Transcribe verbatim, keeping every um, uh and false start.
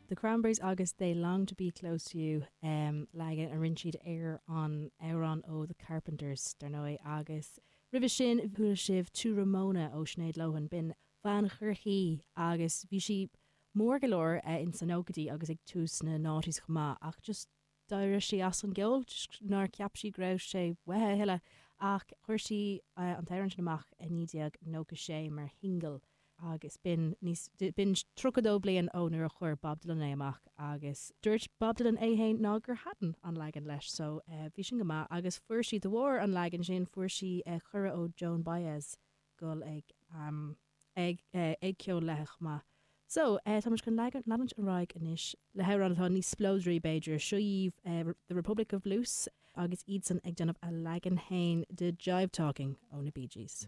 The Cranberries agus They Long to Be Close to You um, leagan a rinne siad ar an amhrán ó The Carpenters dar ndóigh agus roimhe sin chuala sibh To Ramona ó Sinéad Lohan b'in bean Chorcaí agus bhí sí mór go leor uh, in sna nóchaidí agus ag tús na noughties chomh maith ach just d'éirigh sí as an gceol nár cheap sí go raibh sé uaithi a thuilleadh ach chuir sí uh, an t-amhrán sin amach i naoi déag nócha sé mar shingil agus b'in níos b'in tríocha dó bliain ó nuair a chuir Bob Dylan é amach agus dúirt Bob Dylan é féin ná gur thaitin an leagan leis so uh, bhí sin go maith agus fuair sí de bharr an leagan sin fuair sí uh, cuireadh ó Joan Baez gul ag um, ag uh, ag ceol léi chomh maith. So uh, tá chun leanúint ar aghaidh anois le hamhrán atá níos spleodraí b'fhéidir seo uh, the Republic of Blues agus iadsan ag déanamh a leagan féin de Jive Talking ó na Bee Gees.